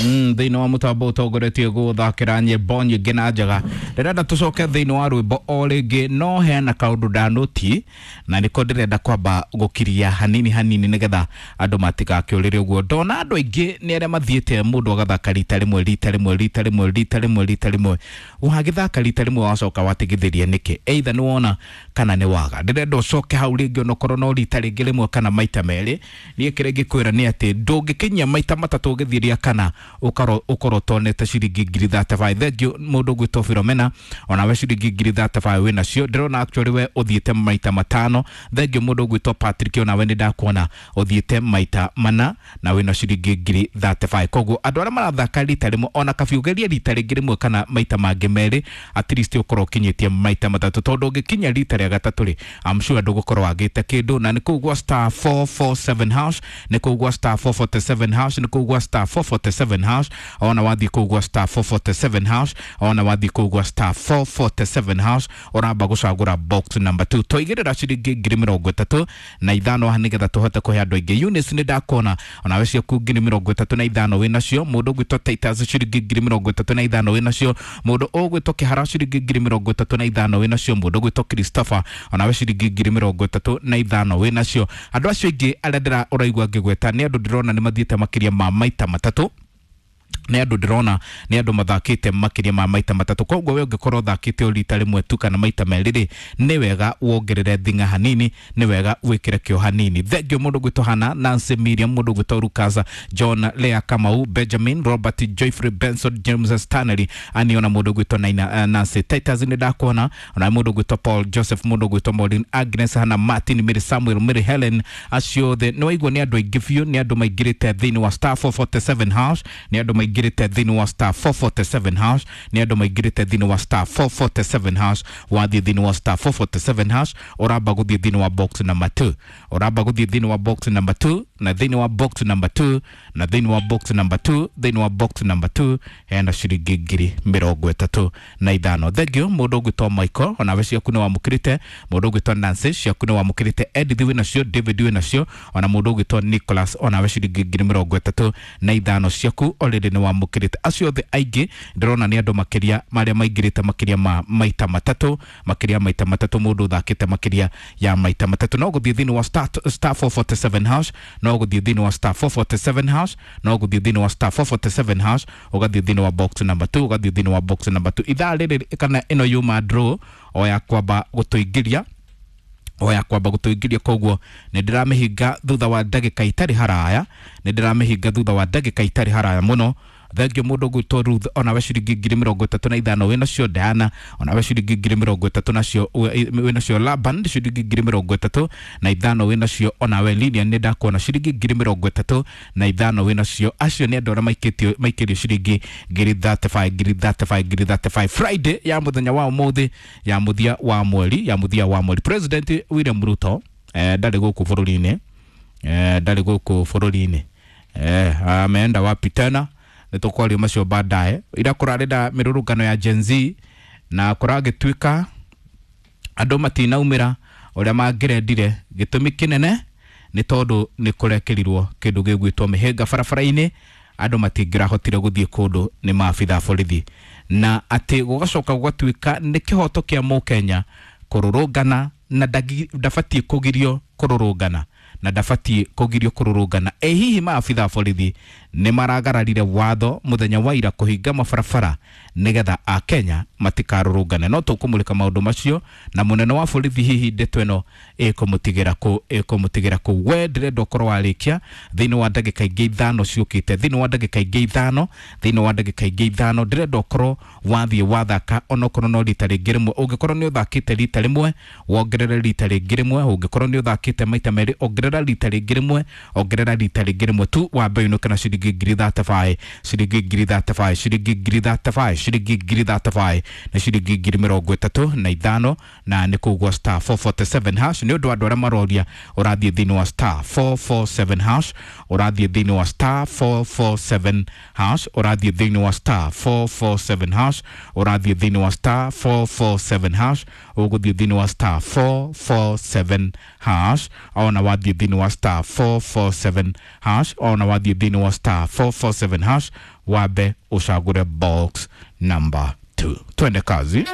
Thĩinĩ wa mũtambo ũtongoretie gũthakĩra nyĩmbo nyingĩ na njega. Ndĩrenda tũcoke thĩinĩ wa rwĩmbo o rĩngĩ, no hena kaũndũ ndanũti na nĩko ndĩrenda kwamba gũkiria hanini hanini nĩgetha andũ matigakĩũrĩre ũguo. Ndona andũ aingĩ nĩ arĩa mathiĩte mũndũ agathaka rita rĩmwe rita rĩmwe rita rĩmwe rita rĩmwe rita rĩmwe, wagĩthaka rita rĩmwe wacoka watigithĩria nĩkĩ? Either nĩ wona kana nĩ waga. Ndĩrenda ũcoke hau rĩngĩ onokorwo no rita rĩngĩ rĩmwe kana maita merĩ. Niĩ kĩrĩa ingĩkwĩra nĩ atĩ ndũngĩkinyia maita matatũ ũgĩthiĩ rĩa kana ũkorwo ũtonete ciringi ngiri 35. Thengiũ mũndũ ũgwĩtwo Philomena, onawe ciringi ngiri 35 wĩ nacio. Ndĩrona actually we ũthiĩte maita matano. Thengiũ mũndũ ũgwĩtwo Patrick, onawe nĩ ndakuona ũthiĩte maita mana na wĩna ciringi ngiri 35. Koguo andũ arĩa marathaka rita rĩmwe ona kabiugeria rita rĩngĩ rĩmwe kana maita mangĩ merĩ, at least ũkorwo ũkinyĩtie maita matatũ, tondũ ũngĩkinya rita rĩa gatatũ rĩ, I'm sure ndũgũkorwo wagĩte kĩndũ. Na nĩ kũu gwa star 447 hash, nĩ kũu gwa star 447 hash, nĩ kũu gwa star 447 hash. Ona wathiĩ kũu gwa star 447 hash, ona wathiĩ kũu gwa star 447 hash, ũramba gũcagũra box number 2. Twaigĩrĩra ciringi ngiri mĩrongo ĩtatũ na ithano haha nĩgetha tũhote kũhe andũ aingĩ. Eunice nĩ ndakuona onawe ciaku ngiri mĩrongo ĩtatũ na ithano wĩ nacio. Mũndũ ũgwĩtwo Titus ciringi ngiri mĩrongo ĩtatũ na ithano wĩ nacio. Mũndũ ũgwĩtwo Kĩhara ciringi ngiri mĩrongo ĩtatũ na ithano wĩ nacio. Mũndũ ũgwĩtwo Christopher onawe ciringi ngiri mĩrongo ĩtatũ na ithano wĩ nacio. Andũ acio aingĩ arĩa ndĩra ũraigua ngĩgweta nĩ andũ ndĩrona nĩ mathiĩte makĩria ma maita matatũ, nĩ andũ ndĩrona nĩ andũ mathakĩte makĩria ma maita matatũ. Koguo we ũngĩkorwo ũthakĩte o rita rĩmwe tu kana maita merĩ rĩ, nĩ wega wongerere thing'a hanini, nĩ wega wĩkĩre kĩo hanini. Thengiũ mũndũ ũgwĩtwo Hana, Nancy, Miriam, mũndũ ũgwĩtwo Rukasa, John, Lea, Kamau, Benjamin, Robert, Joyfrey, Benson, James, Stanley, aniona mũndũ ũgwĩtwo Naina, Nancy Titus nĩ ndakuona, ona mũndũ ũgwĩtwo Paul Joseph, mũndũ ũgwĩtwo Maureen, Agnes, Hana, Martin, Mary, Samuel, Mary Helen, acio othe nĩ waigua nĩ andũ aingĩ biũ, nĩ andũ maingĩrĩte thĩinĩ wa star 447 hash, nĩ andũ maingĩrĩte thĩinĩ wa star 447 hash, nĩ andũ maingĩrĩte thĩinĩ wa star 447 hash. Wathiĩ thĩinĩ wa star 447 hash, ũramba gũthiĩ thĩinĩ wa box number 2, ũramba gũthiĩ thĩinĩ wa box number 2, na thĩinĩ wa box number 2, na thĩinĩ wa box number 2, thĩinĩ wa box number 2 hena ciringi ngiri mĩrongo ĩtatũ na ithano. Thengiũ mũndũ ũgwĩtwo Michael, onawe ciaku nĩ wamũkĩrĩte. Mũndũ ũgwĩtwo Nancy, ciaku nĩ wamũkĩrĩte. Edith wĩ nacio, David wĩ nacio, ona mũndũ ũgwĩtwo Nicholas, onawe ciringi ngiri mĩrongo ĩtatũ na ithano ciaku already nĩ wamũkĩrĩte. Acio othe aingĩ ndĩrona nĩ andũ makĩria marĩa maingĩrĩte makĩria ma maita matatũ, makĩria maita matatũ, mũndũ ũthakĩte makĩria ya maita matatũ. No gũthiĩ thĩinĩ wa star 447 hash, no gũthiĩ thĩinĩ wa star 447 hash, no gũthiĩ thĩinĩ wa star 447 hash, ũgathiĩ thĩinĩ wa box number 2, ũgathiĩ thĩinĩ wa box number 2. Ithaa rĩrĩ kana ĩno yuma draw o ya kwamba gũtũingĩria, o ya kwamba gũtũingĩria, koguo nĩ ndĩramĩhinga thutha wa ndagĩka itarĩ haraya, nĩ ndĩramĩhinga thutha wa ndagĩka itarĩ haraya mũno. Thengio mũndũ ũgwĩtwo Ruth, onawe ciringi ngiri mĩrongo ĩtatũ na ithano wĩ nacio. Diana, onawe ciringi ngiri mĩrongo ĩtatũ nacio wĩ nacio. Laban, ciringi ngiri mĩrongo ĩtatũ na ithano wĩ nacio. Onawe Lilian nĩ ndakuona ciringi ngiri mĩrongo ĩtatũ na ithano wĩ nacio. Acio nĩ andũ arĩa maikĩtio maikĩrio ciringi ngiri 35, ngiri 35, ngiri 35 Friday ya mũthenya wa ũmũthĩ ya mũthia wa mweri, ya mũthia wa mweri. President William Ruto ndarĩ gũkũ bũrũri-inĩ, ndarĩ gũkũ bũrũri-inĩ, ameenda wapi tena? Nĩ tũkwaria macio baadaye. Ira kũrarĩ na mĩrũrũngano ya Gen Z na kũragĩtuĩka andũ matinaumĩra ũrĩa mangĩrendire. Gĩtũmi kĩnene nĩ tondũ nĩ kũrekĩrirwo kĩndũ gĩgwĩtwo mĩhĩnga barabara-inĩ, andũ matingĩrahotire gũthiĩ kũndũ nĩ maabitha borithi, na atĩ gũgacoka gũgatuĩka nĩ kĩhoto kĩa mũkenya kũrũrũngana na ndabatiĩ kũgirio kũrũrũngana, na ndabatiĩ kũgirio kũrũrũngana. Ĩ hihi maabitha borithi nĩ maragararire watho mũthenya wa ira kũhinga mabarabara nĩgetha akenya matikarũrũngane? No tũkũmũrĩka maũndũ macio na mũnene wa borithi, hihi ndeto ĩno ĩkũmũtigĩra kũ, ĩkũmũtigĩra kũ? We ndĩrenda ũkorwo warĩkia thĩinĩ wa ndagĩka ingĩ ithano ciũkĩte, thĩinĩ wa ndagĩka ingĩ ithano, thĩinĩ wa ndagĩka ingĩ ithano ndĩrenda ũkorwo wathiĩ wathaka onokorwo no rita rĩngĩ rĩmwe. Ũngĩkorwo nĩ ũthakĩte rita rĩmwe, wongerere rita rĩngĩ rĩmwe. Ũngĩkorwo nĩ ũthakĩte maita merĩ, ongerera rita rĩngĩ rĩmwe, ongerera rita rĩngĩ rĩmwe tu, wambe ũinũke na ciringi ngiri 35, ciringi ngiri 35, ciringi ngiri 35, ciringi ngiri 35 na ciringi ngiri mĩrongo ĩtatũ na ithano, na nĩ kũu gwa star 447 hash. Nĩ ũndũ wa andũ arĩa maroria, ũrathiĩ thĩinĩ wa star 447 hash, ũrathiĩ thĩinĩ wa star 447 hash, ũrathiĩ thĩinĩ wa star 447 hash, ũrathiĩ thĩinĩ wa star 447 hash, ũgũthiĩ thĩinĩ wa star 447 hash, ona wathiĩ thĩinĩ wa star 447 hash, ona wathiĩ thĩinĩ wa star star 447 hash, wambe ũcagũre box number 2. Twende kazi.